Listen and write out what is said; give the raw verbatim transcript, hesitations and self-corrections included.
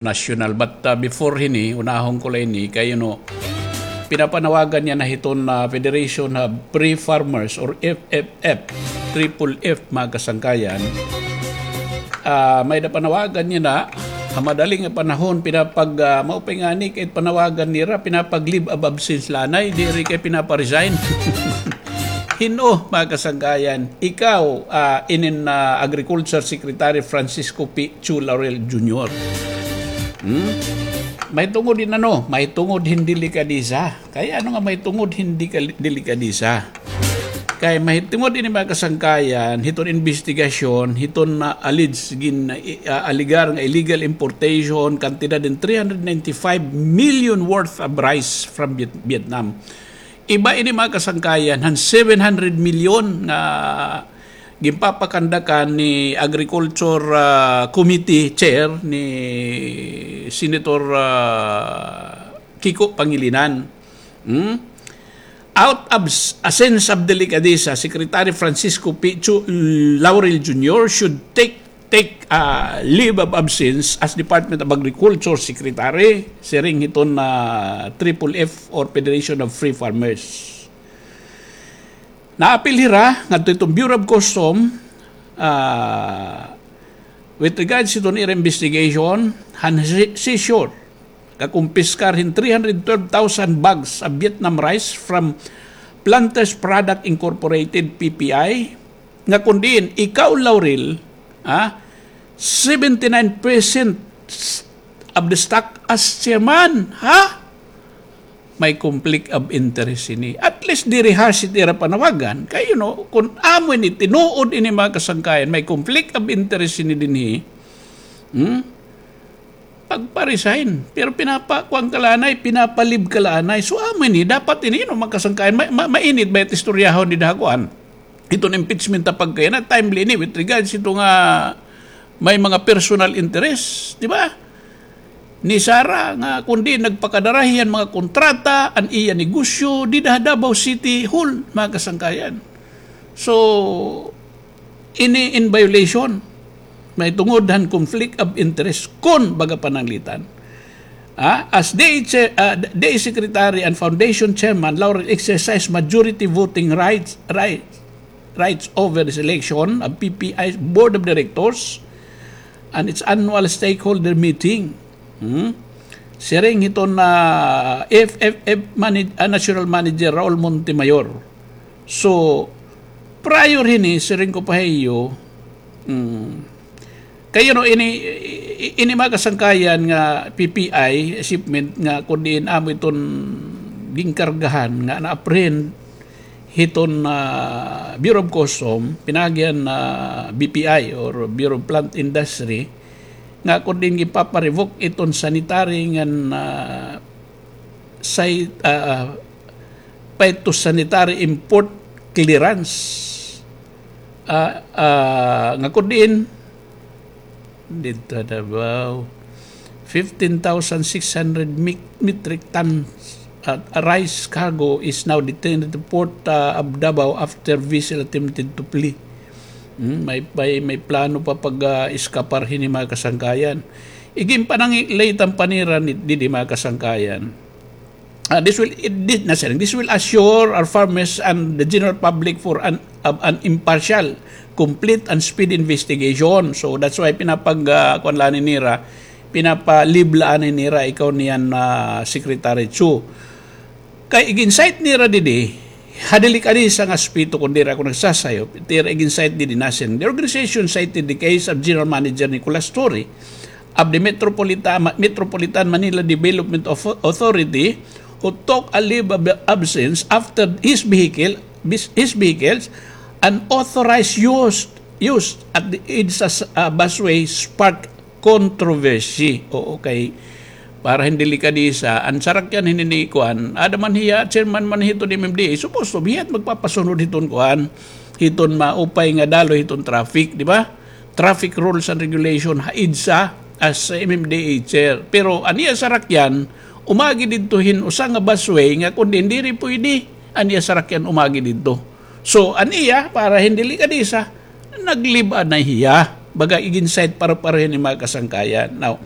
national. But, ah, before hini, unahon ko la ini, kay, you know, pinapanawagan niya na hiton, ah, Federation of Free Farmers or F F F, triple F, mga kasangkayan. Ah, may-ada panawagan niya na, ha madali nga panahon, pinapag, ah, maupay ngani kay panawagan nira, pinapag-leave of absence la anay, diri kay pinapa-resign. Hin-o, mga kasangkayan, ikaw, ah, inin, ah, Agriculture Secretary Francisco P. Chu Laurel Junior. Hmm? Mahitungod hin ano, mahitungod hin delikadesa. Kay ano nga mahitungod hin deka-, delikadesa? Kay mahitungod ini, mga kasangkayan, hiton imbestigasyon, hiton na alleged gin-, ah, alegar nga illegal importation, kantidad hin three hundred ninety-five million worth of rice from Viet-, Vietnam. Iba ini, mga kasangkayan, han seven hundred million nga ginpapakandakan ni Agriculture, ah, Committee Chair ni Senator, ah, Kiko Pangilinan. Hmm? Out of s-, a sense of delicadeza, Secretary Francisco P. Chu Laurel Junior should take take, ah, leave of absence as Department of Agriculture Secretary, siring hiton, ah, triple F or Federation of Free Farmers. Naapil hira ngadto hiton Bureau of Custom, ah, with regards hiton ira investigation, han si-, seizure, kakumpiskar hin three hundred twelve thousand bags of Vietnam rice from Planters Product Incorporated, P P I, nga kun diin ikaw, Laurel, ha, seventy-nine percent of the stock as chairman, ha? May conflict of interest ini. At least diri harsh it ira panawagan. Kay, you know, kun amo ini tinuod ini, mga kasangkayan, may conflict of interest ini dinhi. Hmm? Pagpa-resign. Pero pinapakuan ka la anay, pinapa-leave ka la anay. So, amo ini, dapat ini, you know, mga kasangkayan, ma-, ma-, mainit ba it istoryahon dida ha kuan? Iton impeachment ta pagkayana, timely ini with regards ito nga may mga personal interest, di ba? Ni Sara nga kun diin nagpakadara hiya hin mga kontrata, an iya negosyo, dida ha Davao City Hall, mga kasangkayan. So, ini in violation. Mahitungod han conflict of interest kun baga pananglitan. Ah, as D A, ah, D A Secretary and Foundation Chairman, Laurel exercise majority voting rights, rights, rights over the selection of P P I's Board of Directors and its annual stakeholder meeting. Hmm? Siring hiton, ah, F F F manag-, ah, National Manager Raul Montemayor. So, prior hini, siring ko pa ha iyo, mm, kay, you know, ini, i-, ini mga kasangkayan nga P P I shipment nga kun diin amo iton ginkargahan nga na-apprehend hiton, ah, Bureau of Custom, pinaagi han, ah, B P I or Bureau of Plant Industry, nga kun diin ginpapa-revoke iton sanitary ngan, ah, say, ah, phytosanitary import clearance. Ah, ah, nga kun diin, didto ha Davao, fifteen thousand six hundred mi-, metric tons at a rice cargo is now detained at the port, ah, of Davao after vessel attempted to flee. Hmm, may, may, may plano pa pag, ah, iskapar hini mga kasangkayan. Iginpananglitan pa nira ni, didi mga kasangkayan. Ah, this will, it, this, na, sir, this will assure our farmers and the general public for an, of an impartial, complete and speedy investigation. So that's why pinapag, ah, kuan la ini nira, pinapa-leave la ini nira, ikaw niyan, ah, Secretary Chu. Kay igin-cite nira didi, ha delikadesa nga aspeto kun diri ako nagsasayo, it ira igin-cite didi na siring, the organization cited the case of General Manager Nicolas Torre of the Metropolitan, Metropolitan Manila Development Author-, Authority, who took a leave of absence after his vehicle, bis-, his vehicle's unauthorized use, use at the EDSA, uh, busway sparked controversy. Oo, kay para hin delikadesa, an sarakyan hini ni kuan, ada man hiya, chairman man hiton M M D A, supposed to be hiya it magpapasunod hiton kuan, hiton maupay nga daloy hiton traffic, di ba? Traffic rules and regulation ha EDSA as M M D A chair. Pero an iya sarakyan, umagi didto hin usa nga busway nga kun diin diri pwede an iya sarakyan umagi didto. So, an iya, para hin delikadesa, nag-leave anay hiya. Baga igin-cite pareho-pareho hini mga kasangkayan. Now,